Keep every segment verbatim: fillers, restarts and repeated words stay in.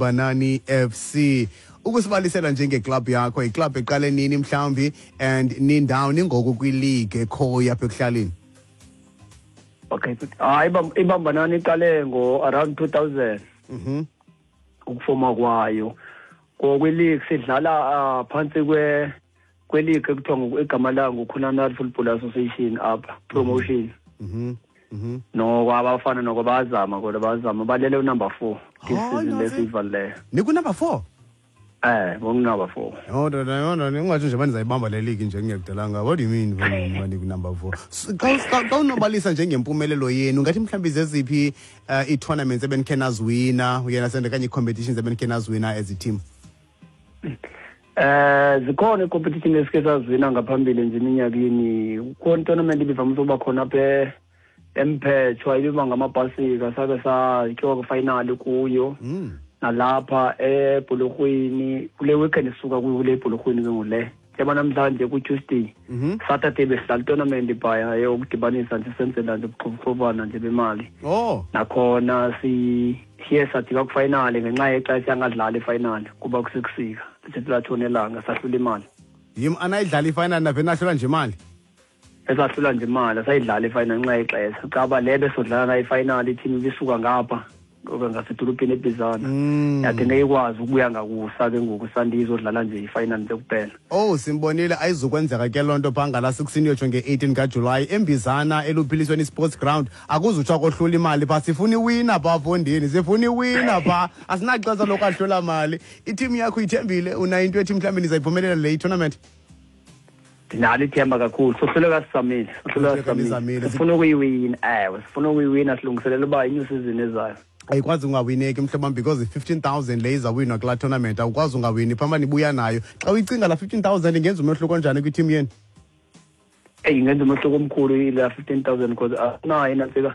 Banani F C. Ukusibalisela njenge-club yakho, i-club eqale nini mhlawumbi and nindawoni ngoku kwi-league ekhoyo apha ekuhlaleni? Okay, hayi iBambanani iqale ngo around two thousand. Mhm. Ukufoma kwayo. Ngokwe-league sidlala phantsi kwe kwe-league ekuthiwa igama layo nguKhunana Football Association apha promotion. Mhm. Mhm. No abafana noko bazama kodwa bazama balele u-number four this season lesivaleyo. Niku number four? Eh, ngoku-number four. Oh, no no no, ungathi nje banizayibamba le league nje ngiyakudalanga. What do you mean when niku number four? Xa unobalisa njengempumelelo yenu, ngathi mhlawumbi zeziphi ii-tournaments ebenikhe naziwina, uyena sende kanye ii-competitions ebenikhe naziwina as a team? Eh, zikhona ii-competition esike saziwina ngaphambili nje eminyakeni. Kukhona tournament ibivamise ukuba khona apha eMphetshwa, ibiba ngamabhasika, sake satyiwa kwi-final kuyo. Nalapha eBhulorhweni kule weekend sisuka kuyo kule eBhulorhweni ke ngule. Njengoba namhlanje ku-Tuesday, Saturday besidlala i-tournament phaya yokudibanisa nje senzela nje ubuxhobana nje bemali. Oh. Nakhona siye sajika kwi-final ngenxa yexesha angadlali i-final kuba kusekusika. Sithe latshona elanga sahlula imali. Yim anayidlala i-final nave nahlula nje imali? Esahlula nje imali, sayidlala i-final ngenxa yexesha. Caba le besodlala nayo i-final i-team ibisuka ngapha ngasedolophini eBizana. Yathi ngeke ikwazi ukubuya ngakusa ke ngoku sandizodlala nje i-final nje kuphela. Oh, simbonile ayizukwenzeka ke loo nto phaa ngala sixteen yotsho nge-eighteen kaJulayi eMbizana eluphilisweni sports ground. Akuzutsho kohlula imali phaa, sifuna iwina phaa fondini, sifuna iwina phaa, asinaxesha lokwahlula mali. I-team yakho ithembile, unayo into ethi mhlawumbi nizayiphumelela le tournament? Ndinalo ithemba kakhulu, sohluleka sizamile, sohluleka sizamile. Sifuna ukuyiwina, ewe, sifuna ukuyiwina, silungiselela uba i-new season ezayo. Ayikwazi ungawineki mhlobo because i-fifteen thousand le izawinwa kulaa tournament, awukwazi ungawini phamba nibuya nayo. Xa uyicinga laa fifteen thousand ingenza umehluko njani kwi-team yenu? Eyi, ingenza umehluko omkhulu ila fifteen thousand because asinayo inantsika,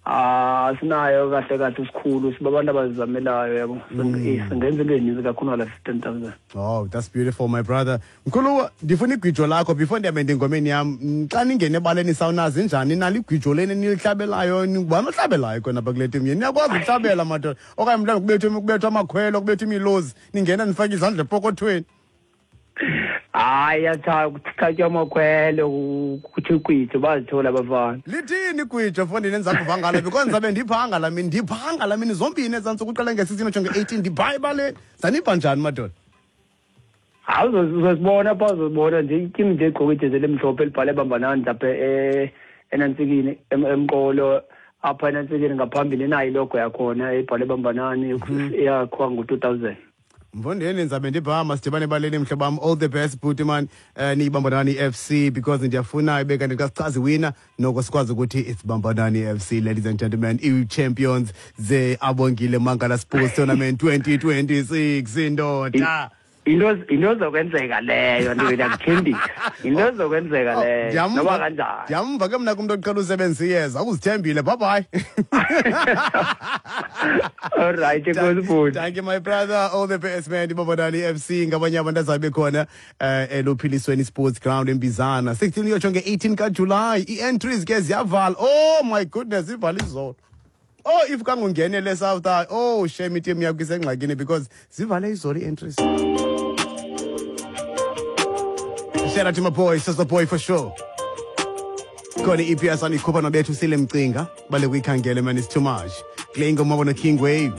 asinayo kahle kahle isikhulu, siba abantu abazizamelayo yabo. Singenza into ezininzi kakhulu ngala fifteen thousand. Oh, that's beautiful my brother. Mkhulu, ndifuna igwijo lakho before ndihambe engomeni yam. Xa ningena ebaleni sawunazi njani nalo igwijo leni nilihlabelayo, ngubani ohlabelayo khona apha kule team yenu? Niyakwazi ukuhlabela madoda okanye mhlawumbi kubethwe kubethwe amakhwelo, kubethwe imilozi, ningena nifake izandla epokothweni? Hayi, yatha kuthatywa amakhwelo, kuthi igwijo bazithola abafana. Lithini igwijo fondini endiza kuva ngalo? Because ndizabe ndiphanga laa mini, ndiphanga laa mini zombini ezaa ntsuku uqale nge-sixteen utsho nge-eighteen, ndipha ebaleni. Zanipha njani madoda? Hayi, uzozibona phaa, uzozibona nje i-team nje egqoke ijezi elimhlophe elibhale Bambanani lapha enantsikini emqolo apha enantsikini ngaphambili inayo ilogo yakhona ebhale Bambanani eyakhiwa ngo-two thousand. Mfondini, ndizabe ndipha, masidibane ebaleni mhlobo wam. All the best bhuti man, uh, niyiBambanani F C because ndiyafuna ibe kanti xa sichaza iwina noko sikwazi ukuthi it's Bambanani F C, ladies and gentlemen, i-champions ze-Abongile Mangala Sports Tournament twenty twenty-six indoda. Into into zokwenzeka leyo, ndiyakuthembisa. Into zokwenzeka leyo. Noba kanjani. Ndiyamva ke mna kumntu oqhela usebenzisa iyeza, uzithembile. Bye bye. All right, enkosi. Thank you my brother. All the best man. IBambanani F C ngabanye abantu azabe khona eluphilisweni sports ground eMbizana. sixteen yotsho nge-eighteen kaJulayi. Ii-entries ke ziyavala. Oh my goodness, ivala izolo. Oh, if kangungenele South, oh shame i-team yakho isengxakini because zivale izolo ii-entries. Shout out to my boy, sister boy for sure. Khona i-E P S anikhupha nobethu sile mcinga, bale kuyikhangele man, it's too much. Kule ingoma bona King Wave.